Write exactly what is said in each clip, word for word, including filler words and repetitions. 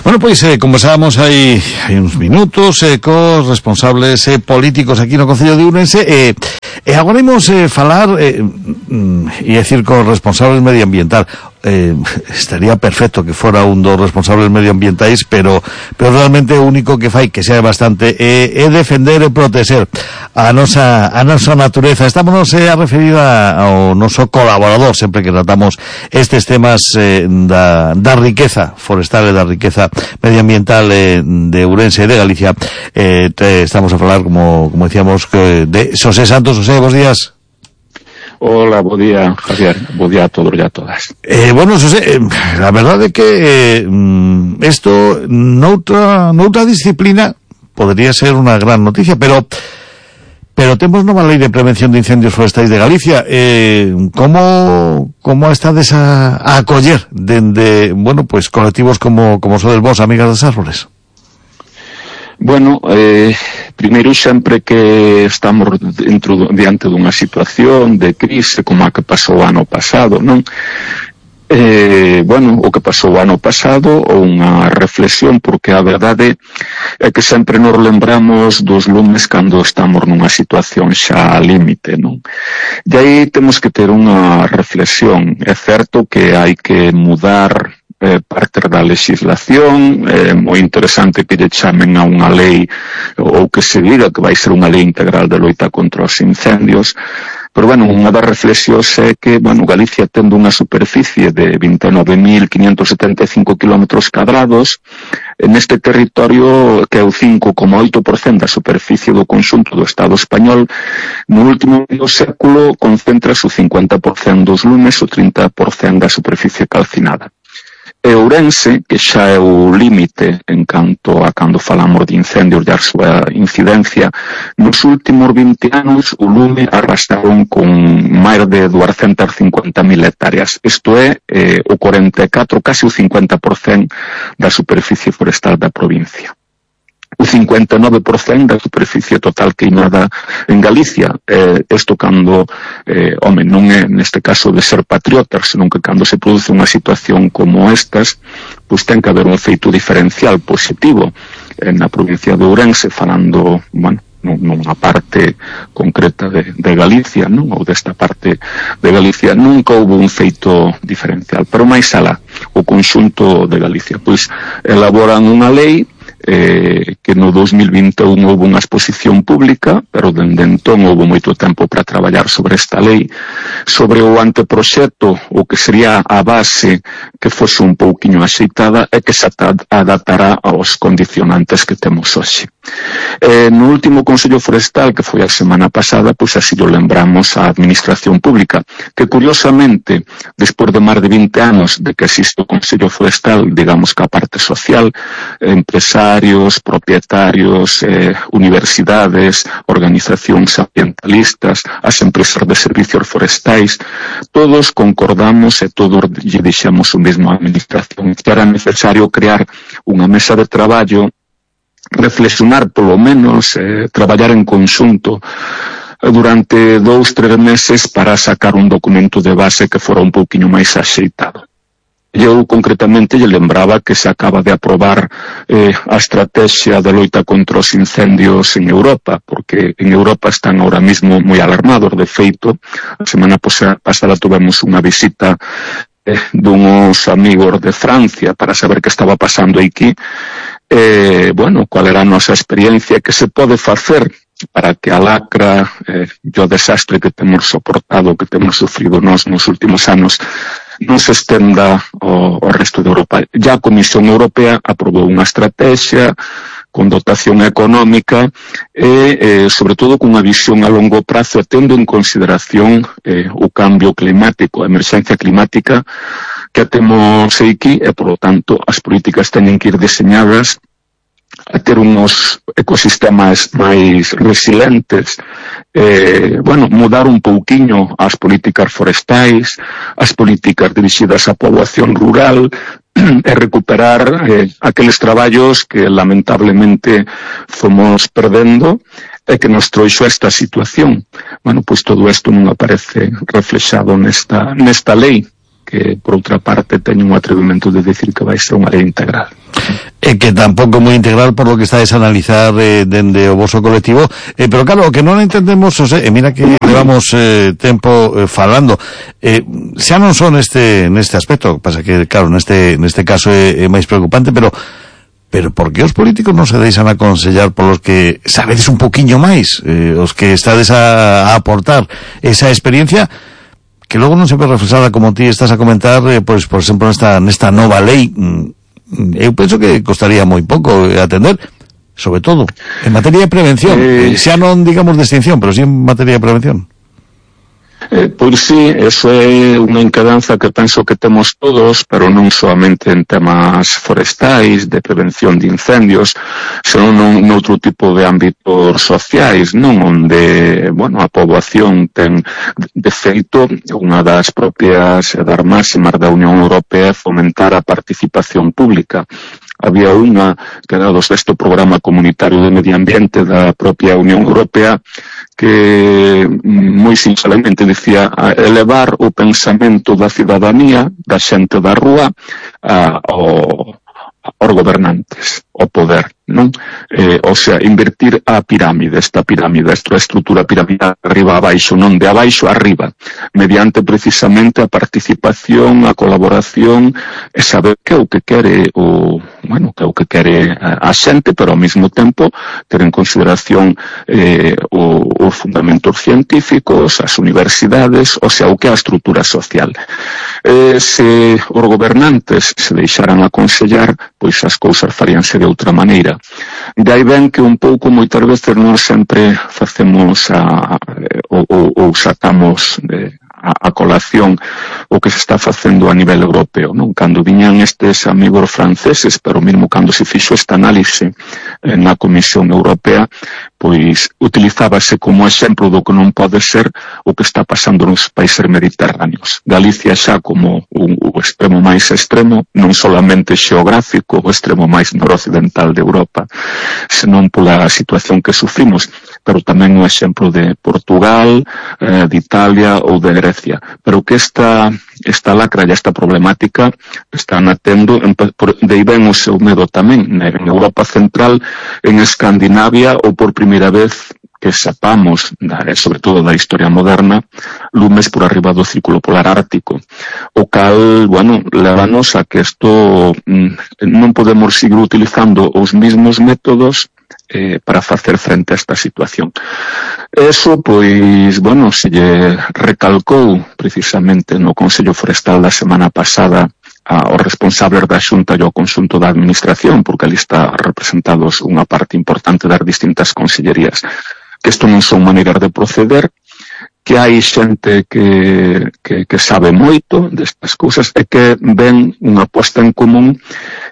Bueno, pois eh, conversábamos hai, hai uns minutos eh, cos responsables eh, políticos aquí no Concello de Ourense e, e agora imos eh, falar eh, e decir cos responsables medioambiental. Eh, estaría perfecto que fora un dos responsables medioambientais, pero pero realmente o único que fai que sea bastante é, é defender e proteger a nosa a nosa natureza. Estamos eh, a referir a, ao noso colaborador sempre que tratamos estes temas eh, da, da riqueza forestal e da riqueza medioambiental eh, de Ourense e de Galicia. Eh, te, estamos a falar, como, como decíamos, que de Xosé Santos. Xosé, bos días. Hola, bo día, Javier, bo día a todos e a todas. Eh, bueno, Xosé, eh, a verdade é que eh, isto noutra, noutra disciplina podría ser unha gran noticia, pero pero temos nova lei de prevención de incendios forestais de Galicia. Eh, como como estades a, a acoller dende, bueno, pues colectivos como como sodes vos, Amigas das Árbores? Bueno, eh, primeiro sempre que estamos dentro, diante dunha situación de crise como a que pasou o ano pasado, non? Eh, bueno, o que pasou o ano pasado, unha reflexión, porque a verdade é que sempre nos lembramos dos lumes cando estamos nunha situación xa límite, non? E aí temos que ter unha reflexión. É certo que hai que mudar Eh, parte da legislación, é eh, moi interesante que lle chamen a unha lei ou que se diga que vai ser unha lei integral de loita contra os incendios, pero bueno, unha das reflexións é que, bueno, Galicia tendo unha superficie de vinte e nove mil quinhentos setenta e cinco kilómetros cadrados, neste territorio que é o cinco coma oito por cento da superficie do conxunto do Estado español, no último medio século concentrase o cincuenta por cento dos lumes, o trinta por cento da superficie calcinada. E Ourense, que xa é o límite en canto a cando falamos de incendios e a súa incidencia, nos últimos vinte anos o lume arrastraron con máis de duascentas cincuenta mil hectáreas. Isto é eh, o cuarenta e catro, casi o cincuenta por cento da superficie forestal da provincia. O cincuenta e nove por cento da superficie total queimada en Galicia. Eh, isto cando, eh, home, non é neste caso de ser patriotas, senón que cando se produce unha situación como estas, pois ten que haber un efeito diferencial positivo eh, na provincia de Ourense, falando, bueno, nunha parte concreta de, de Galicia, non? Ou desta parte de Galicia, nunca houve un feito diferencial, pero máis alá, o conxunto de Galicia, pois elaboran unha lei Eh, que no dos mil vinte e un houve unha exposición pública, pero dende entón houve moito tempo para traballar sobre esta lei, sobre o anteproxecto, o que sería a base que fose un pouquiño axeitada e que se adaptará aos condicionantes que temos hoxe. Eh, no último Consello Forestal, que foi a semana pasada, pois así lo lembramos á Administración Pública, que curiosamente, despois de máis de vinte anos de que existe o Consello Forestal, digamos que a parte social, empresarios, propietarios, eh, universidades, organizacións ambientalistas, as empresas de servicios forestais, todos concordamos e todos lle deixamos o mesmo á Administración, que era necesario crear unha mesa de traballo, reflexionar polo menos, eh, traballar en conxunto durante dous, tres meses para sacar un documento de base que fora un pouquiño máis axeitado. Eu concretamente lle lembraba que se acaba de aprobar eh, a estrategia de loita contra os incendios en Europa, porque en Europa están ahora mismo moi alarmados. De feito, a semana pasada tuvemos unha visita eh, dunos amigos de Francia para saber que estaba pasando aquí. Eh, bueno, cual era a nosa experiencia, que se pode facer para que a lacra eh, e o desastre que temos soportado, que temos sufrido nos nos últimos anos, non se estenda ao, ao resto de Europa. Ya a Comisión Europea aprobou unha estrategia con dotación económica e, eh, sobre todo, con unha visión a longo prazo, tendo en consideración eh, o cambio climático, a emerxencia climática que temos aquí, e, por lo tanto, as políticas teñen que ir diseñadas a ter unos ecosistemas máis resilientes, eh, bueno, mudar un pouquiño as políticas forestais, as políticas dirixidas á poboación rural, e recuperar eh, aqueles traballos que lamentablemente fomos perdendo e que nos trouxo esta situación. Bueno, pois todo isto non aparece reflexado nesta, nesta lei, que, por outra parte, teño un atrevimento de decir que vai ser unha lei integral. E que tampouco moi integral por lo que estáis a analizar eh, dende o voso colectivo, eh, pero claro, o que non entendemos, José, e mira que levamos eh, tempo eh, falando, eh, xa non son neste neste aspecto, pasa que claro, neste neste caso é, é máis preocupante, pero pero por que os políticos non se deixan aconsellar polos que sabedes un poquiño máis, eh, os que estades a, a aportar esa experiencia que logo non se ve reflexada como ti estás a comentar, eh, pois por exemplo nesta nesta nova lei? Eu penso que costaría moi pouco atender, sobre todo en materia de prevención, eh, xa non digamos de extinción, pero sí en materia de prevención. Eh, pois sí, eso é unha encadanza que penso que temos todos, pero non solamente en temas forestais, de prevención de incendios, senón en outro tipo de ámbitos sociais, non, onde, bueno, a poboación ten, de feito, unha das propias das máximas da Unión Europea é fomentar a participación pública. Había unha que era do sexto programa comunitario de medio ambiente da propia Unión Europea que moi sinceramente dicía elevar o pensamento da cidadanía, da xente da rúa, a, ao, aos gobernantes, ao poder, non? Eh, o sea, invertir a pirámide, esta pirámide, esta estrutura piramidal arriba a abaixo, non de abaixo a arriba, mediante precisamente a participación, a colaboración, e saber que é o que quere o, bueno, que é o que quere a, a xente, pero ao mesmo tempo ter en consideración eh, o, os fundamentos científicos, as universidades, o sea, o que é a estrutura social. Eh, se os gobernantes se deixaran aconsellar, pois as cousas faríanse de outra maneira. De aí ven que un pouco, moitas veces, nós sempre facemos a, ou, ou, ou sacamos de, a, a colación o que se está facendo a nivel europeo, non? Cando viñan estes amigos franceses, pero mesmo cando se fixo esta análise eh, na Comisión Europea, pois utilizábase como exemplo do que non pode ser o que está pasando nos países mediterráneos. Galicia xa como o, o extremo máis extremo, non solamente xeográfico, o extremo máis noroccidental de Europa, senón pola situación que sufrimos, pero tamén o exemplo de Portugal, eh, de Italia ou de Grecia. Pero que esta, esta lacra e esta problemática están atendo, de aí ven o seu medo tamén, en Europa Central, en Escandinavia, ou por primeira vez que sepamos, sobre todo da historia moderna, lumes por arriba do círculo polar ártico, o cal, bueno, levanos a que isto non podemos seguir utilizando os mesmos métodos eh, para facer frente a esta situación. Eso, pois, bueno, se lle recalcou precisamente no Consello Forestal da semana pasada aos responsables da Xunta e ao conxunto da Administración, porque ali está representados unha parte importante das distintas consellerías, que isto non son maneiras de proceder, que hai xente que, que, que sabe moito destas cousas e que ven unha posta en común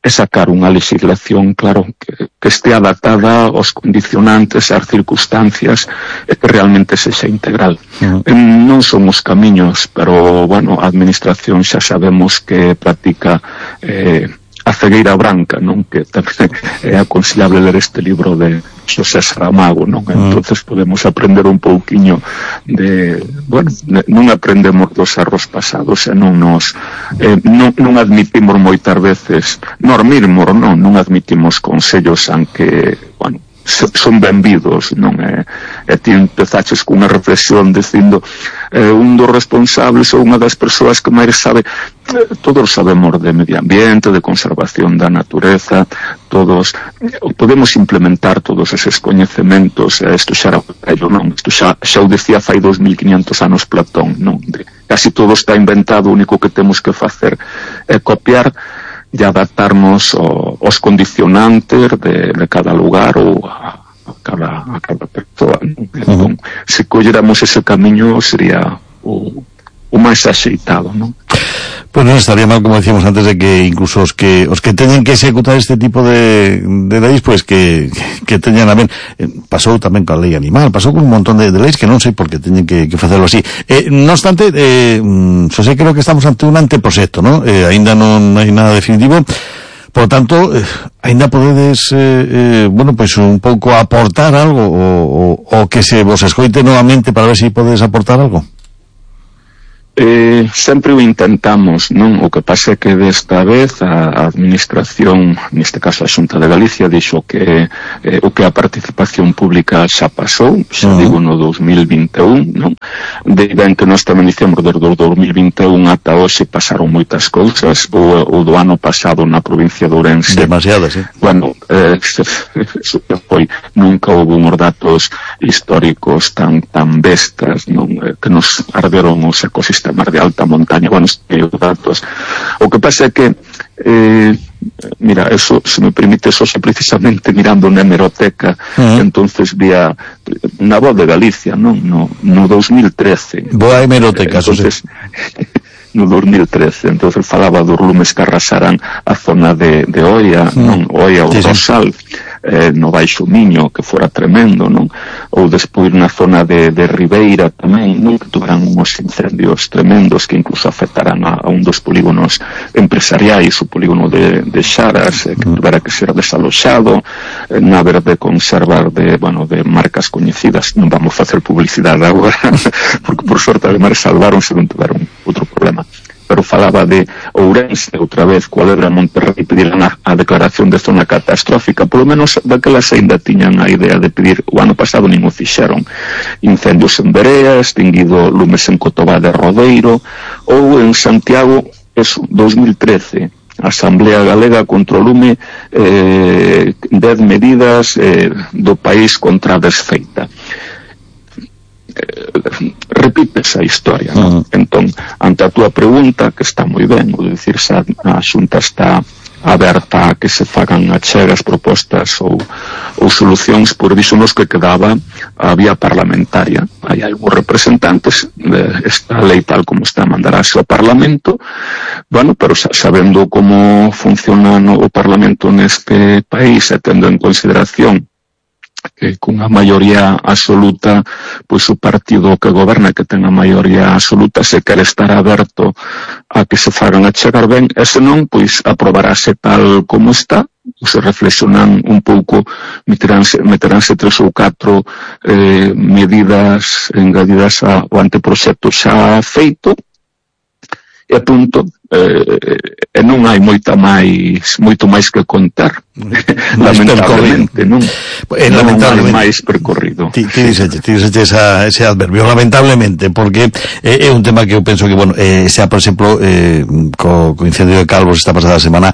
e sacar unha legislación, claro, que, que este adaptada aos condicionantes, ás circunstancias e que realmente sexa integral. Uh-huh. Non son os camiños, pero, bueno, a Administración xa sabemos que practica eh, a cegueira branca, non? Que tamén é aconsellable ler este libro de Xosé Saramago, non? Mm. Entonces podemos aprender un pouquiño de, bueno, non aprendemos dos erros pasados e non nos eh, non, non admitimos moitas veces, nós mesmos non, non admitimos consellos aunque, bueno, son benvidos, non é? E ti empezaches cunha reflexión dicindo eh, un dos responsables ou unha das persoas que máis sabe, eh, todos sabemos de medio ambiente, de conservación da natureza, todos eh, podemos implementar todos eses coñecementos, e isto xa era vello, non? Isto xa, xa o decía fai dos mil quinientos anos Platón, non? De, casi todo está inventado, o único que temos que facer é copiar e adaptarnos aos condicionantes de, de cada lugar ou a, a, cada, a cada persoa. Entón, uh-huh. Se colléramos ese camiño sería o, o máis axeitado, non? Pues non estaría mal, como decíamos antes, de que incluso os que os que teñen que executar este tipo de, de leis, pues que, que teñan a ben. Pasou tamén coa lei animal, pasou con un montón de, de leis que non sei por que teñen que, que facerlo así. Eh, no obstante, eh, Xosé, creo que estamos ante un anteproxecto, ¿no? Eh, ainda non hai nada definitivo. Por tanto, eh, ainda podedes, eh, eh, bueno, pues un pouco aportar algo, o, o, o que se vos escoite novamente para ver se si podedes aportar algo. Eh, sempre o intentamos, non? O que pasa é que desta vez a administración, neste caso a Xunta de Galicia, dixo que eh, o que a participación pública xa pasou, xa uh-huh. digo no dos mil vinte e un, non? De ben que nós tamén dicemos desde o dos mil vinte e un ata hoxe pasaron moitas cousas, o, o do ano pasado na provincia de Ourense. Demasiadas, eh? Bueno, eh, eso que foi, nunca houve uns datos históricos tan tan bestas, non? Eh, que nos arderon os ecosistemas de alta montaña, bueno, os datos. O que pasa é que eh, mira, eso, se me permite, eso xa precisamente mirando na hemeroteca, uh-huh. entonces vía na Voz de Galicia, non? No, no dos mil trece. Boa hemeroteca, entonces, no dos mil trece, entonces falaba dos lumes que arrasaran a zona de, de Oia, uh-huh. non? Oia, o sí, Rosal, sí. Eh, no Baixo Miño, que fora tremendo, non? Ou despois na zona de, de Ribeira tamén, non? Que tuveran uns incendios tremendos que incluso afectaran a, a un dos polígonos empresariais, o polígono de, de Xaras, eh, que tuvera que ser desaloxado, eh, na verde conservar de, bueno, de marcas coñecidas. Non vamos facer publicidade agora, porque por sorte ademais salvaron se non tuveron outro problema. Pero falaba de Ourense, outra vez, cual era Monterrey, pediran a, a declaración de zona catastrófica, polo menos daquelas ainda tiñan a idea de pedir, o ano pasado nin o fixeron, incendios en Berea, extinguido lumes en Cotobá de Rodeiro, ou en Santiago, eso, dos mil trece, Asamblea Galega contra o lume, eh, dez medidas eh, do país contra a desfeita. Eh, repite esa historia, non? Uh-huh. Entón, ante a túa pregunta, que está moi ben, o de dicir, xa a Xunta está aberta a que se fagan achegas, propostas ou, ou solucións, por iso nos que quedaba a vía parlamentaria. Hai algúns representantes de esta lei tal como está mandarase ao Parlamento, bueno, pero sabendo como funciona no, o Parlamento neste país e tendo en consideración que cunha maioría absoluta, pois o partido que goberna, que ten a maioría absoluta, se quere estar aberto a que se fagan a chegar ben, e senón, pois aprobarase tal como está, se reflexionan un pouco, meteránse, meteránse tres ou catro eh, medidas engadidas ao anteproxecto xa feito, e punto. Eh, e non hai moita máis moito máis que contar, lamentablemente, non? Eh, non lamentablemente, hai máis percorrido. Ti, ti dices, ti dices esa, ese adverbio, lamentablemente, porque é eh, un tema que eu penso que, bueno, eh, sea, por exemplo, eh, co, co incendio de Calvos esta pasada semana,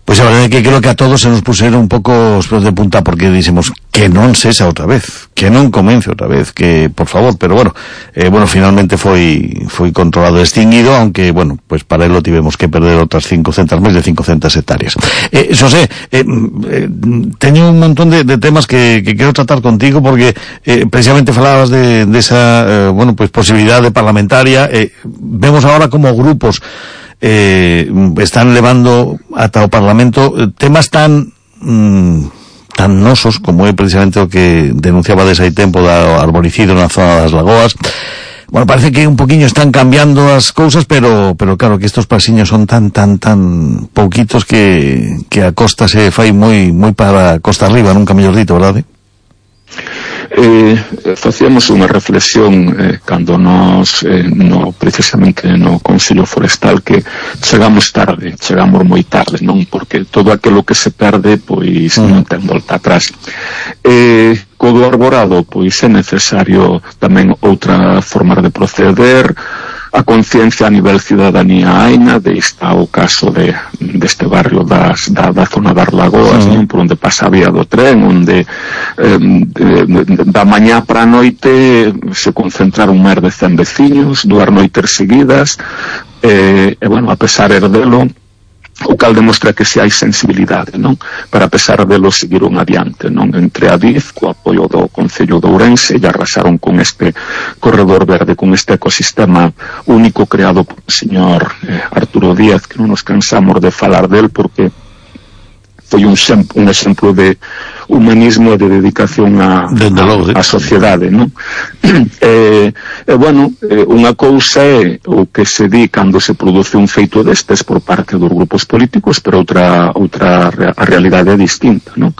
pois a verdade é que creo que a todos se nos puseron un pouco os pelos de punta, porque dixemos que non cesa outra vez, que non comence outra vez, que por favor, pero bueno, eh, bueno, finalmente foi foi controlado e extinguido, aunque, bueno, pues para ello tivemos que perder outras cincocentas, máis de cincocentas hectáreas. Eh, Xosé, eh, eh, teño un montón de, de temas que, que quero tratar contigo, porque eh, precisamente falabas de, de esa, eh, bueno, pues posibilidade parlamentaria, eh, vemos ahora como grupos Eh, están levando ata o Parlamento temas tan mm, tan nosos como é precisamente o que denunciaba desde hai tempo do arboricido na zona das Lagoas. Bueno, parece que un poquinho están cambiando as cousas, pero pero claro que estos pasiños son tan tan tan pouquitos que que a costa se fai moi moi para costa arriba, nunca mellor dito, verdade? Eh, facíamos unha reflexión eh, cando nos eh, no, precisamente no Consello Forestal, que chegamos tarde, chegamos moi tarde, non? Porque todo aquilo que se perde, pois mm. non ten volta atrás. Eh, co do arborado, pois é necesario tamén outra forma de proceder, a conciencia a nivel ciudadanía aina, de está o caso de deste barrio das, da, da zona das Lagoas, uh-huh. non? Por onde pasa a vía do tren, onde eh, de, de, da mañá para a noite se concentraron máis de cen veciños, dúas noites seguidas, eh, e, bueno, a pesar herdelo, o cal demostra que se hai sensibilidade, non? Para a pesar delo seguiron adiante, non? Entre a D I F, co apoio do Concello de Ourense, e arrasaron con este corredor verde, con este ecosistema único creado por o señor eh, Arturo Díaz, que non nos cansamos de falar del, porque foi un, un exemplo de humanismo e de dedicación a, a, a sociedade, non? E, e bueno, eh, unha cousa é o que se di cando se produce un feito destes por parte dos grupos políticos, pero outra outra a realidade é distinta, non?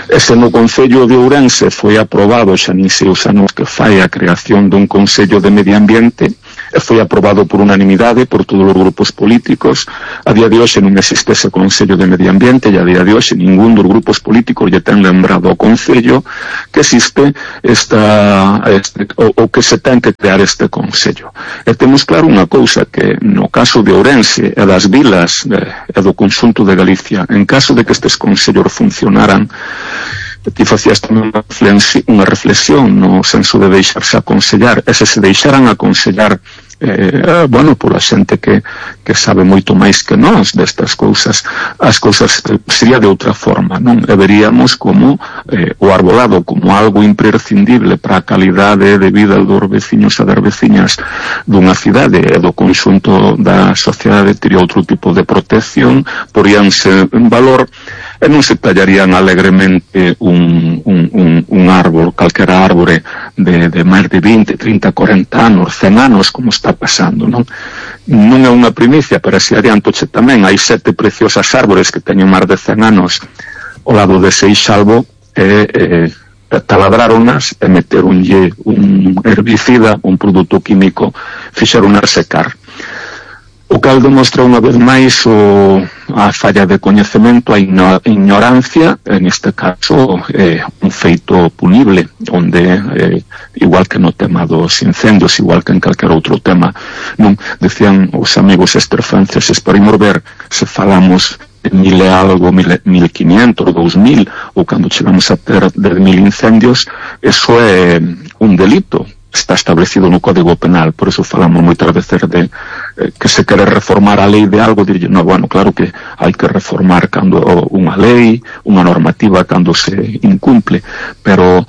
Ese no Concello de Ourense foi aprobado, xa nin sei os anos que fai, a creación dun Consello de Medio Ambiente, e foi aprobado por unanimidade por todos os grupos políticos. A día de hoxe non existe ese Consello de Medio Ambiente e a día de hoxe ningún dos grupos políticos lle ten lembrado ao Concello que existe esta, este, o, o que se ten que crear este Consello. E temos claro unha cousa, que no caso de Ourense e das vilas e do conxunto de Galicia, en caso de que estes consellos funcionaran, ti facías tamén unha reflexión no senso de deixarse aconsellar, e se se deixaran aconsellar eh, bueno, pola xente que, que sabe moito máis que nós destas cousas, as cousas sería de outra forma, non? E veríamos como eh, o arbolado como algo imprescindible para a calidade de vida dos veciños e das veciñas dunha cidade e do conxunto da sociedade tería outro tipo de protección, poríanse en valor e non se tallarían alegremente un, un, un, un árbol, calquera árbore de, de máis de vinte, trinta, cuarenta anos, cen anos, como está pasando, non? Non é unha primicia, pero se adiantoche tamén, hai sete preciosas árbores que teñen máis de cen anos ao lado de Seixalbo e eh, taladraronas e meteronlle un herbicida, un produto químico, fixeronas secar. O cal demostra unha vez máis o, a falla de coñecemento, a ignorancia, en este caso eh, un feito punible, onde, eh, igual que no tema dos incendios, igual que en calquer outro tema, non decían os amigos esterfranceses, para imos ver se falamos de mil e algo, mil, mil quinientos, dous mil, ou cando chegamos a ter dez mil incendios, eso é un delito. Está establecido no Código Penal, por eso falamos moitas veces de eh, que se quere reformar a lei de algo, dirlle, no, bueno, claro que hai que reformar cando unha lei, unha normativa cando se incumple, pero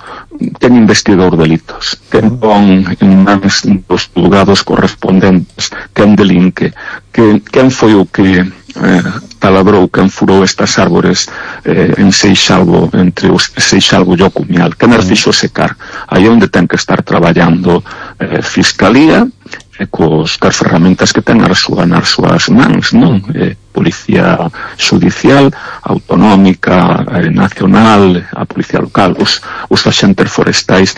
ten investidor delitos, ten pon en mans dos julgados correspondentes, quen delinque, que, quen foi o que eh, taladrou, quen furou estas árbores eh, en Seixalbo, entre os Seixalbo e o Cumial, quen as fixo secar. Aí onde ten que estar traballando eh, Fiscalía e cos, cas ferramentas que ten as súas, nas súas mans, non? Eh, Policía Judicial, Autonómica, eh, Nacional, a Policía Local, os, os axentes forestais,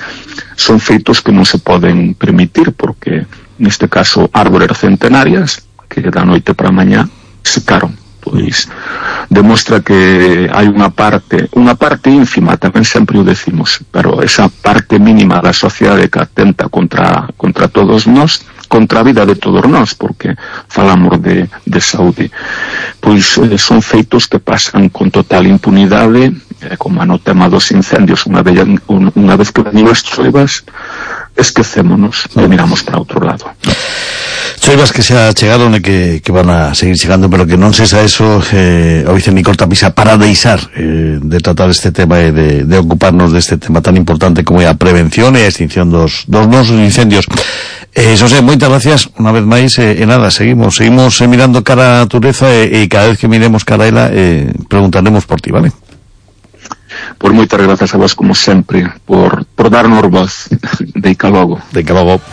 son feitos que non se poden permitir, porque neste caso árbores centenarias que da noite para mañá secaron. Pois demostra que hai unha parte, unha parte ínfima, tamén sempre o decimos, pero esa parte mínima da sociedade que atenta contra, contra todos nós, contra a vida de todos nós, porque falamos de, de saúde, pois eh, son feitos que pasan con total impunidade, eh, como no tema dos incendios, unha vez, unha vez que venían as choivas, esquecémonos e miramos para outro lado. Choivas que xa chegaron e que, que van a seguir chegando, pero que non cesa eso eh, o vice Nicol Tapisa para deixar eh, de tratar este tema e de, de ocuparnos deste tema tan importante como é a prevención e a extinción dos, dos nosos incendios. Eh, Xosé, moitas gracias unha vez máis e, e nada, seguimos seguimos eh, mirando cara a Tureza e, e cada vez que miremos cara a ela eh, preguntaremos por ti, vale? Por moitas grazas a vos como sempre por, por darnos voz. Deica logo. Deica logo.